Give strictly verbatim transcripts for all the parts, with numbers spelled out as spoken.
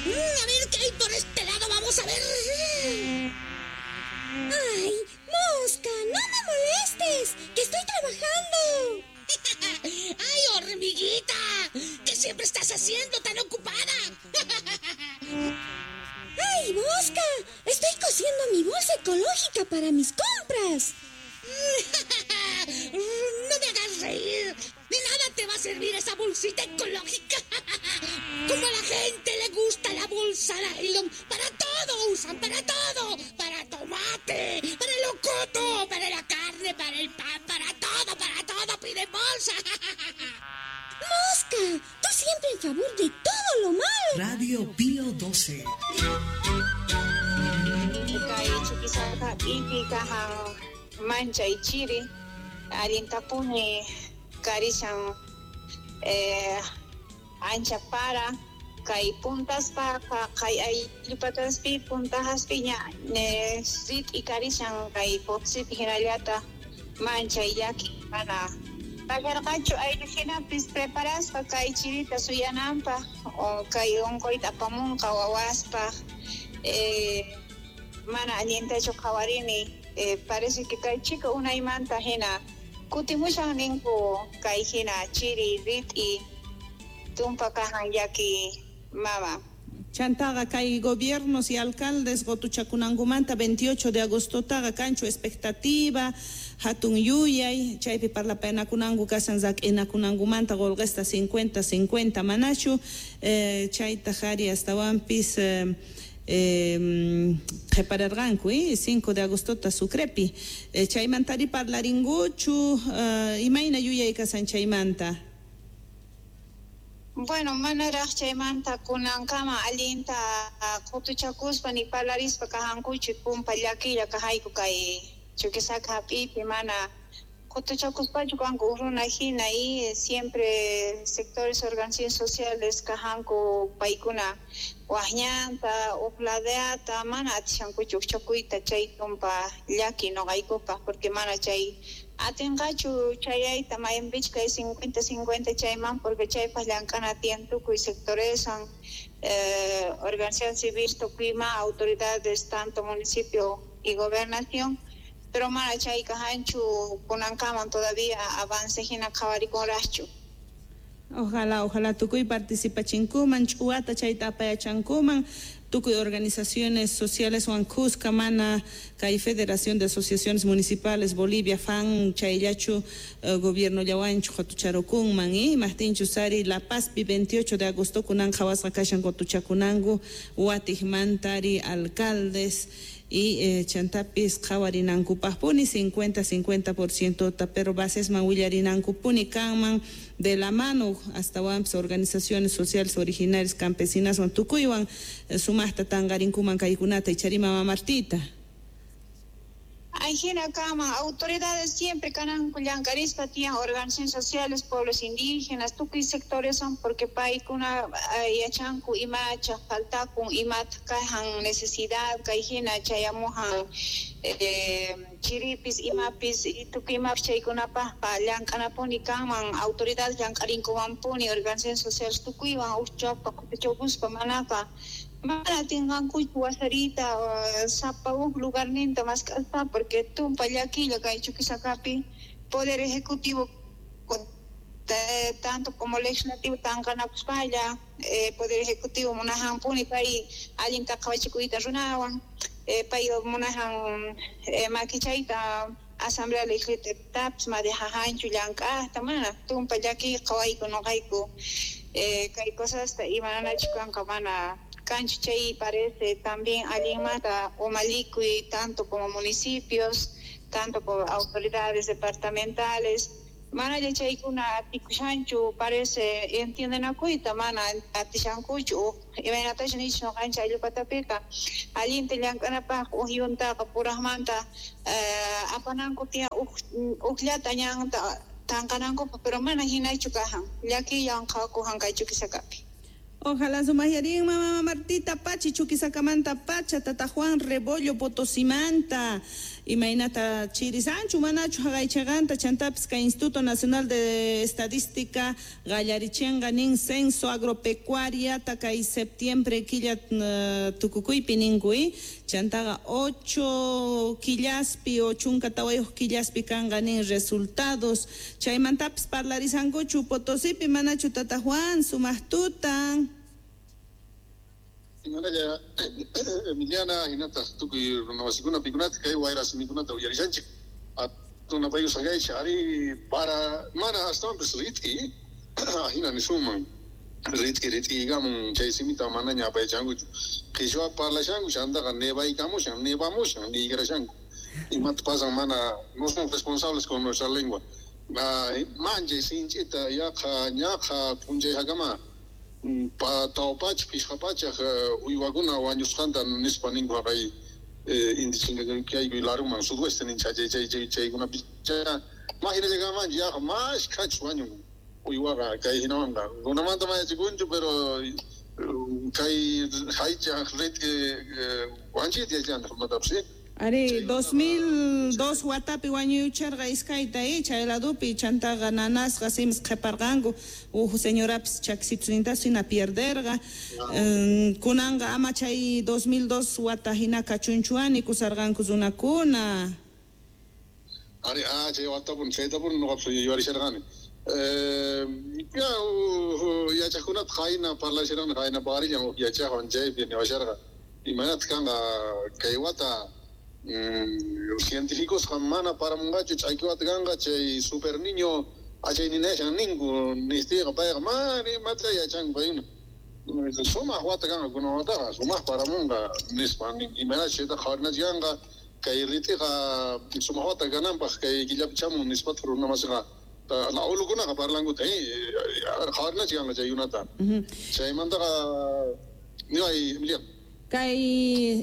Mm, a ver qué hay por este lado, vamos a ver. ¡Ay, mosca! ¡No me molestes! ¡Que estoy trabajando! ¡Ay, hormiguita! ¿Qué siempre estás haciendo tan ocupada? ¡Ay, mosca! Estoy cosiendo mi bolsa ecológica para mis compras. ¡No me hagas reír! ¡De nada te va a servir esa bolsita ecológica! Como a la gente le gusta la bolsa nylon, para todo usan, para todo. Para tomate, para el locoto, para la carne, para el pan, para todo, para todo piden bolsa. ¡Mosca! Tú siempre en favor de todo lo malo. Radio Pío doce. Manchay chiri, allintapuni karishan eh, ancha para, kay puntaspa, kay ayllupataspi, puntajaspi ña ne rit'i karishan kay Potosipi hinallata manchay llaki mana pagarqachu ayllu hinapis preparaspa kay chirita suyananpaq o kay unquyta apamunqa wawaspaq eh, mana allintachu qhawarini. Eh, parece que kay chica unaymanta hina kutimushan ninku kay hina chiri rit'i tumpa kajan llaki mama. Chantaqa kay gobiernos y alcaldes qotuchakunankumanta veintiocho de agostotaqa kanchu expectativa hatun yuyay chaypi parlapaynakunanku kasan rak'inakunankumanta qolqesta cincuenta cincuenta manachu eh, chayta qhari astawanpis eh, Eh, prepararqanku eh, cinco de agosto ta Sucrepi eh, chaymantari parlarinkuchu eh, imayna yuyay kasan chaymanta. Bueno, manaraq chaymanta kunankama allinta qutuchakuspa ni parlarispa kajankuchu pumpa llakilla kajayku kay Chuquisaca hap'ipi mana qutuchakuspachu kanku runa hina y siempre sectores organizaciones sociales kajanku paykuna wajñanta uqladeata mana atishankuchu uqchakuyta chay tumpa llaki noqaykupaq porque mana chay atinqachu chayayta mayinpich kay cincuenta cincuenta chayman porque chaypaq llank'ana tiyan tukuy sectoreswan eh, organización civil tukuyma autoridades tanto municipio y gobernación pero mana chay kajanchu kunankaman todavía avance hina qhawarikunraqchu. Ojalá, ojalá tukuy participachinkuman ch'uwata chayta apayachankuman tukuy organizaciones sociales wan kuska mana kay Federación de Asociaciones Municipales Bolivia F A N chayllachu uh, gobierno llawanchu qotucharukunman y imajtinchu sari La Pazpi veintiocho de agosto kunan qhawasqa kashan qotuchakunanku watijmantari alcaldes y eh, chantapis qhawarinankupaqpuni cincuenta cincuenta por ciento ta pero basesman willarinankupuni kanman de la mano hasta wanpis organizaciones sociales originarias campesinas wan tukuywan eh, sumaqta tanqarinkuman kaykunata ichari mama Martita. Ay, hina kama autoridades siempre kananku llankarispa tiyan organizaciones sociales, pueblos indígenas, tukuy sectores son porque paykuna yachanku imacha faltakun imata kajan necesidad kay hina chayamujan eh, chiripis imapis y tukuy imapis chaykunapaqqa llank'anapuni kanman autoridades llank'arinkuwanpuni organizaciones sociales tukuywan uqchappa qutuchakuspa manaqa mana atinqankuchu wasarita sapa huk lugarninta mask'aspa porque tumpa llakilla kay Chuquisacapi poder ejecutivo tanto como legislativo tanqanakuspalla eh, poder ejecutivo munajanpuni pay allinta qhawachikuyta runawan eh, pay munajan eh, makichayta asamblea legislativa madejajanchu llank'aqta mana tumpa llaki qhawayku noqayku eh, kay cosasta imananachu kanqa mana kanchu chay parece también allinmanta umalikuy tanto como municipios tanto como autoridades departamentales mana chaykuna atikushanchu parece entiendenakuyta mana atishankuchu imaynatachu nichu noqanchik ayllupatapiqa allinta llank'anapaq uj yuntaqa puraqmanta eh, apananku tiyan uj ujllata ñanta tanqanankupaq pero mana hinachu kajan llakillan qhawakujan kay Chuquisacapi. Ojalá sumayarin mamá Martita Pachi Chuquisacamanta Pacha Tata Juan Rebollo Potosimanta imaynata chirisanchu manachu haqaychaqanta chantapis kay Instituto Nacional de Estadística qallarichinqa nin censo agropecuaria kay septiembre killa uh, tukukuypi ninkuy chantaqa ocho killaspi o chunka tawayuq killaspi kanqa nin resultados chaymantapis parlarisankuchu Potosipi manachu Tata Juan sumaq tutan. Imanalla Emiliana hinataq tukuy runamasikuna pikunata kay wayra simikunata uyarishanchik atunapayusaqaychik ari para mana astawanpis rit'i hina nisunman rit'i rit'iykamun chay simita manaña apayachankuchu qhichwa parlashanku chantaqa nevaykamushan nevamushan niykarashanku imata pasan mana no somos responsables con nuestra lengua manchay sinch'ita yaqa ñaqa p'unchayhakama pa tawpach phishqa pachaq uywakuna wañusqanta nispa ninku haqay inti chinkakaykuy laruman sudoeste nincha chay chay chay chaykunapi mahinallakamanchik yaqa mashkhachu wañun uywaqa kay hinawanqa runamanta mayachikunchu pero kay haychaq rit'i wanchita yachanta runatapis. Ari dos mil dos watapi wañuycharqa iskayta eh chay ladupi chantaqa nanasqa simis qhiparqanku uj señorapis chaksitusnintas hina pierderqa kunanqa ama chay dos mil dos wata hina kachunchuani kusarqanku runakuna. Ari ah chay watapun chaytapun nuqapis yuyarisharqani eh ya yachaqkunata qayna parlasharqani qayna paqarillan yachaqwan chaypi niwasharqa imaynataq kanqa kay wata científicos mana paramunqachu ch'aykiwata kanqa chay super niño achayninashan ninku nistiqa payqa mana imata yachanku paykuna sumaq wata kanqa kunan wataqa sumaq paramunqa nispa imaynachus chaytaqa qhawarinachik kanqa kay rit'iqa sumaq wata kananpaq kay killapi chamun nispataq runamasiqa abuelokunaqa parlankuta qhawarinachik kanqa chaykunata chaymantaqa niway Emiliano. Kay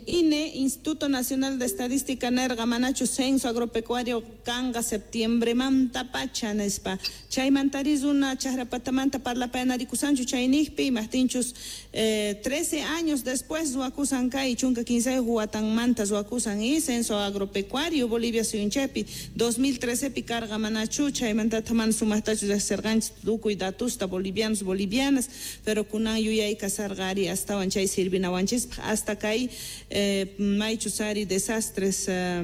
I N E, Instituto Nacional de Estadística nerqa manachu censo agropecuario kanqa septiembre manta pacha nispa chaymantari runa chaqrapatamanta parlapayanarikusanchu chayniqpi imaqtinchus eh, trece años después ruwakusan kay chunka kinsayuq watanmanta ruwakusan y censo agropecuario Bolivia suyunchaypi dos mil trece pi karqa manachu chaymantata mana sumaqtachu riqsirqanchik tukuy datusta bolivianos bolivianas pero kunan yuyay kasarqa ari astawan chay sirvinawanchispaq hasta kay eh, maychus ari desastres eh,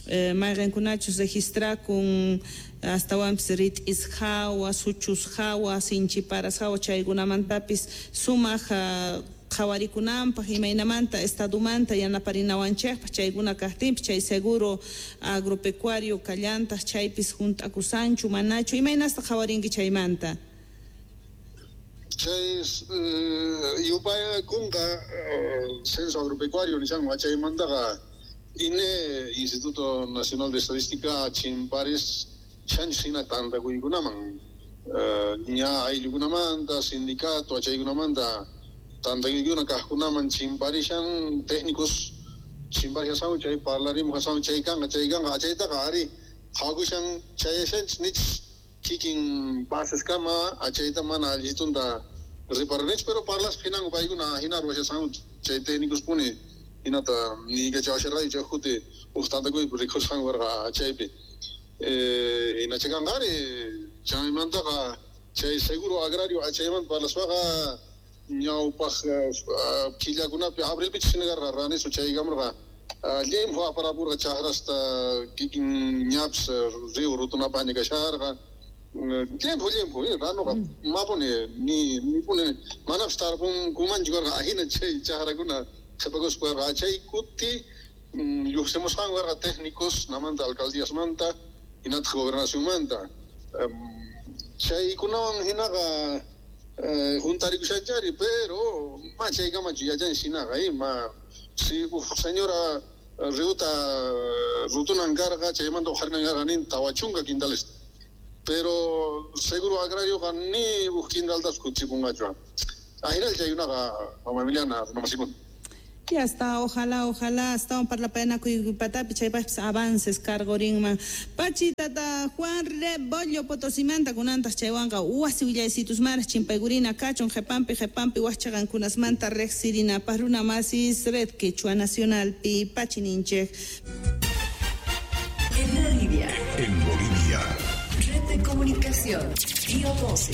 eh, mayqinkunachus registrakun astawanpis rit'is hawa suchus hawa sinchiparas hawa chaykunamantapis sumaq uh, qhawarikunanpaq imaynamanta estadumanta yanaparinawanchikpaq chaykuna kaqtinpis chay seguro agropecuario kallantaq chaypis hunt'akusanchu manachu imaynasta qhawarinki chaymanta. Chay yupaykunqa censo agropecuario nishanku chaymantaqa I N E Instituto Nacional de Estadística chimparis chanchus hina tantakuykunaman ña ayllukunamanta sindicato achaykunamanta tantakuykuna kaqkunaman chimparishan técnicos chimparishasanku chay parlarimuqasanku chay kanqa chay kanqa achaytaqa ari qhawakushan chayashanchis nichis kikin baseskama achayta mana allitunta reparanich pero parlaspa hinanku paykuna hina ruwashasanku chay técnicos puni hinata niykachawasharqayku chay kuti uj tantakuypi rikhusqanku karqa chaypi eh hinachakanqa ari chaymantaqa chay seguro agrario achaymanta parlaspaqa ñawpaq killakunapi abrilpichus hina karqa ranisu chaykamurqa llimpu aparapurqa chaqrasta kikin ñapis río rutunapaqña kasharqa llimpu llimpu ranuqa mapuni ni nipuni manapis tarpunkumanchu karqa ahina chay chaqrakuna qhipakuspa karqa chay kuti lluqsimusqanku karqa técnicos namanta alcaldíasmanta hinataq gobernacionmanta chaykunawan hinaqa juntarikushanchari pero ma chaykamachu yachanchis hinaqa ma si uj señora riuta rutunan karqa chaymanta uqharinan karqa nin tawa chunka quintales pero seguro agrarioqa ni uj quintaltas kutipunqachu ahinalla chaykunaqa mama Emiliana runamasikuna. Ya está, ojalá, ojalá, hasta un parlapayanakuy patapi chaypaqpis avances cargorinman. Pachitata Juan Rebollo Potosimanta kunantaj chaywanqa wasi willaysitus maras chimpaygurina kachun qhepampi qhepampi wajchaqankunasmanta riqsirinapaq runa masis Red Quechua Nacionalpi pachininchej. En Bolivia. En Bolivia. Red de Comunicación, Pío doce.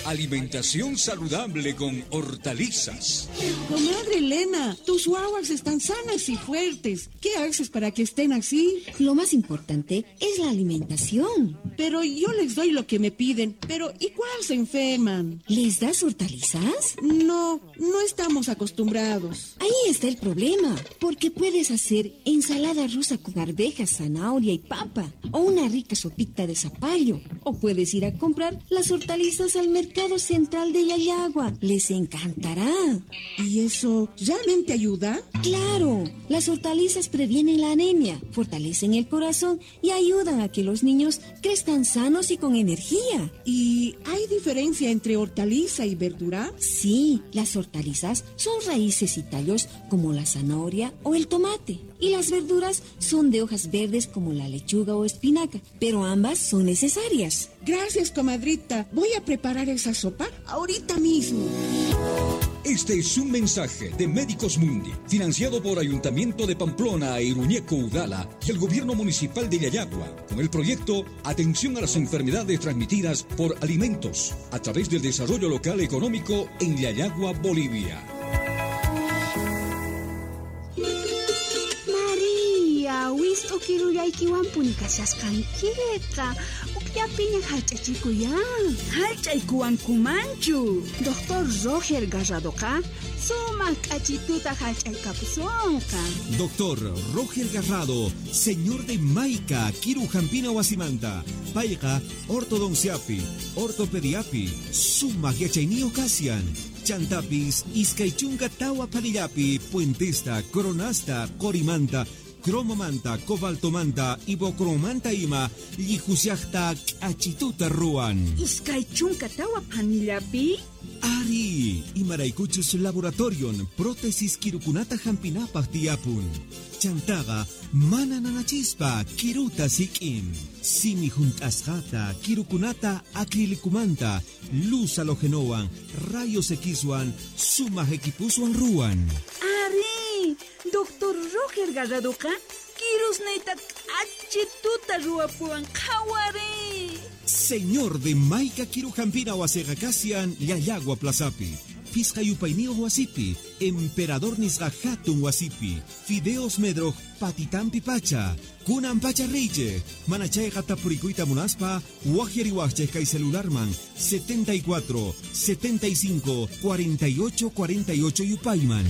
Alimentación saludable con hortalizas. Comadre Elena, tus guaguas están sanas y fuertes. ¿Qué haces para que estén así? Lo más importante es la alimentación. Pero yo les doy lo que me piden, pero igual se enferman. ¿Les das hortalizas? No, no estamos acostumbrados. Ahí está el problema, porque puedes hacer ensalada rusa con arvejas, zanahoria y papa, o una rica sopita de zapallo, o puedes ir a comprar las hortalizas al mercado central de Llallagua. Les encantará. ¿Y eso realmente ayuda? ¡Claro! Las hortalizas previenen la anemia, fortalecen el corazón y ayudan a que los niños crezcan sanos y con energía. ¿Y hay diferencia entre hortaliza y verdura? Sí, las hortalizas son raíces y tallos como la zanahoria o el tomate. Y las verduras son de hojas verdes como la lechuga o espinaca, pero ambas son necesarias. Gracias, comadrita. Voy a preparar esa sopa ahorita mismo. Este es un mensaje de Médicos Mundi, financiado por Ayuntamiento de Pamplona e Iruñeco Udala y el Gobierno Municipal de Llallagua, con el proyecto Atención a las Enfermedades Transmitidas por Alimentos, a través del Desarrollo Local Económico en Llallagua, Bolivia. María, wist'ukirullaykiwanpuni kashasqankiqa. Ukllapiña hallch'achikuyan. Hallch'aykuwankumanchu. Doctor Roger Garradoqa sumaq k'achituta hallch'aykapusunqa. Doctor Roger Garrado, señor de Maica, Kirujampina wasimanta, payqa ortodonciapi, ortopediapi, sumaq yachayniyuq kasian. Chantapis, iskay chunka tawa panillapi, puentesta, coronasta, corimanta, cromomanta, cobaltomanta, ibocromanta ima, llijusiajta, k'achituta ruwan. Iskay chunka tawa panillapi? Ari, imaraykuchus laboratorion, prótesis kirukunata hampinapaq tiyapun. Chantaqa, mana nanachispa, kiruta sik'in. Simi junt'asqata, kirukunata acrilicumanta, luz halogenowan, rayos Xwan, sumaq equipuswan ruwan. Ari, Doctor Roger Garradoqa, kirusniyta k'achituta ruwapuwan qhawari. Señor de Maica Kirujampina wasiqa kasian Llallagua Plazapi, Pisqa yupayniyuq wasipi, Emperador nisqa hatun wasipi, Fideos Medroj patitampi pacha, kunan pacha riychej, mana chayqa tapurikuyta munaspa, wajyariwajchej kay celularman setenta y cuatro, setenta y cinco, cuarenta y ocho, cuarenta y ocho yupayman.